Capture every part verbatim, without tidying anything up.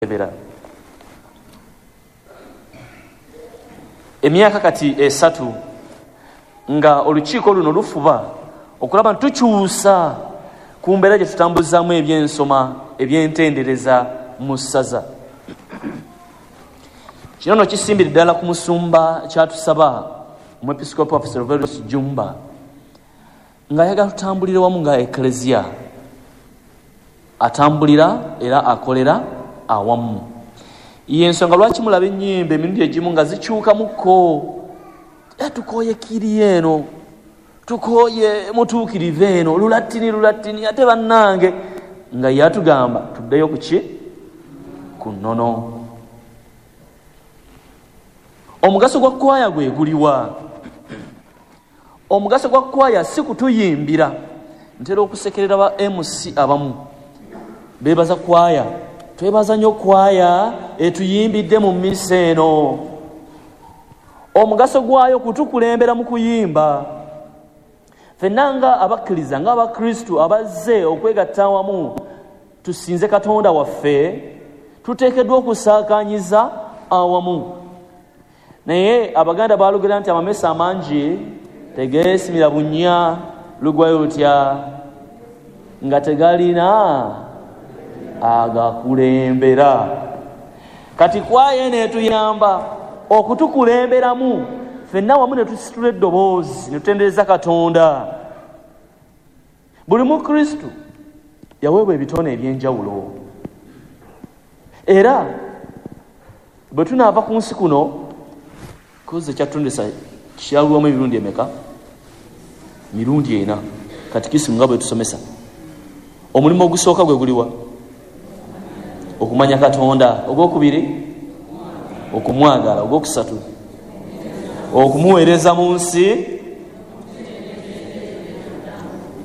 Ebera. Emyaka kati esatu nga olukiiko luno lufuba okulaba nti tukyusa ku mbeera gye tutambuzaamu ebyensoma ebyentendereza mu ssaza. Kino nno kisimbire ddala ku musumba kyatusaba omwepiskopi waffe Serverus Jjumba ng'ayagala tutambulire wamu nga Eklezia atambulira era akolera awamu. Yensonga lwaki mulaba ennyimba emirundi egimu nga zikyukamukko, tukooye kiri eno, tukooye mutuukirivu eno, lulatini lulatini, ate bannange nga yatugamba tuddeyo ku ki? Ku nnono. Omugaso gwa kwaya gwe guliwa? Omugaso gwa kwaya si kutuyimbira. Ntera okusekerera ba M C abamu beebaza kwaya, twebaza nnyo kwaya etuyimbidde mu mmisa eno. Omugaso gwayo kutukulembera mu kuyimba. Ffenna nga abakkiriza, nga abakristu abazze okwegatta awamu tusinze Katonda waffe, tuteekeddwa okusaakanyiza awamu. Naye Abaganda baalugera nti amamesa amangi tegeesimira bunnya, lugwayo lutya nga tegalina agakulembera. Kati kwaya eno etuyamba okutukulemberamu ffenna wamu ne tusitula eddoboozi ne tutendereza Katonda. Buli mukristu yaweebwa ebitone ebyenjawulo, era bwe tunaava ku nsi kuno, koze ekyatutondesa kyalwamu emirundi emeka? Mirundi ena. Katikisimu nga bwe tusomesa, omulimu ogusooka gwe guliwa? Okumanya Katonda. Ogwokubiri okumwagala. Ogwokusatu okumuweereza mu nsi,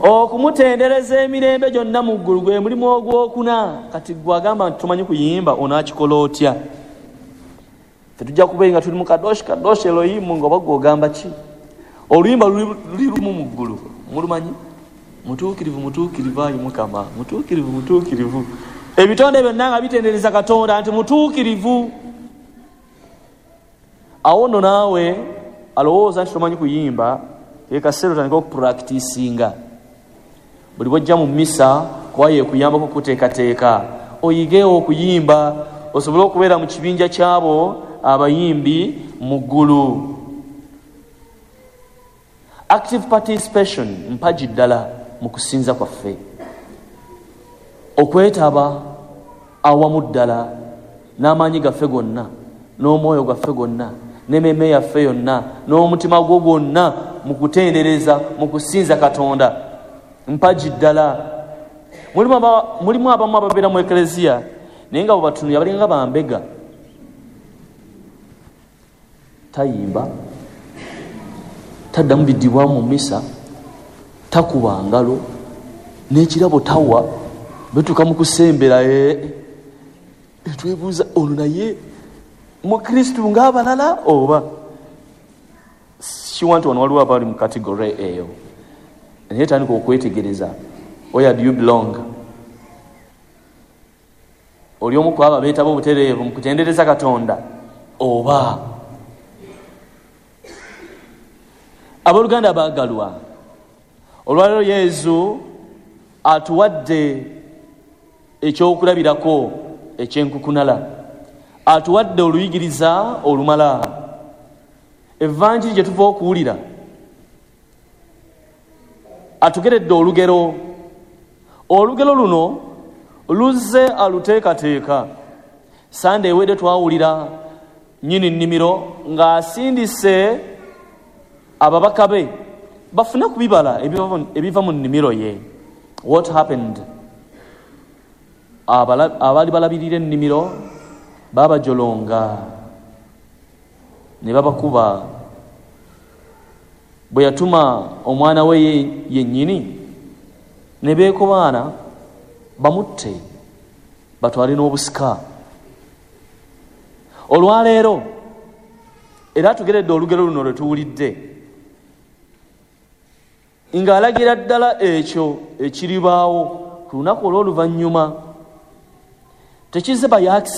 okumutendereza emirembe gyonna mu ggulu, gwe mulimu ogwokuna. Kati gwe agamba nti tumanyi kuyimba, onaakikola otya? Ffe tujja kubeera nga tuli mu kadoshi kadoshi Elohimu, nga oba gwe ogamba ki? Oluyimba luli lumu mu ggulu, mulumanyi? Mutuukirivu mutuukirivu ayi Mukama, mutuukirivu mutuukirivu. Ebitonde byonna nga bitendereza Katonda nti mutuukirivu. Awo nno naawe alowooza nti tomanyi kuyimba, ekaseera otandika okupuractisinga. Buli bw'ojja mu mmisa, kwaya ekuyambako okuteekateeka, oyigeewo okuyimba osobole okubeera mu kibinja ky'abo abayimbi mu ggulu. Active participation mpagi ddala mu kusinza kwaffe, okwetaba awamu ddala n'amaanyi gaffe gonna, n'omwoyo gwaffe gwonna, n'emmeeme yaffe yonna, n'omutima gwo gwonna mu kutendereza, mu kusinza Katonda, mpagi ddala. Mulimu abamu ababeera mu Eklezia naye nga bwe batunulira balinga bambega, tayimba, taddamu biddibwamu mu mmisa, takuba ngalo, n'ekirabo tawa. Betuuka mu kusembera twebuuza ono naye mukristu ng'abalala oba siwa nti wano waliwo abali mu category eyo. Naye tandika okwetegereza, where do you belong? Oli omu ku abo abeetaba obutereevu mu kutendereza Katonda oba? Abooluganda abaagalwa, olwaleero Yezu atuwadde ekyokulabirako ekyenkukunala, atuwadde oluyigiriza olumala. Evanjiri gye tuva okuwulira atugeredde olugero. Olugero luno luzze aluteekateeka. Sande ewedde twawulira nnyini nnimiro ng'asindise ababaka be bafune ku bibala ebiva mu nnimiro ye. What happened? Abaali balabirira ennimiro babajolonga ne babakuba. Bwe yatuma omwana we yennyini ne beekobaana bamutte batwale n'obusika. Olwaleero era atugeredde olugero luno lwe tuwulidde ng'alagira ddala ekyo ekiribaawo ku lunaku olw'oluvannyuma. Tekize by accident.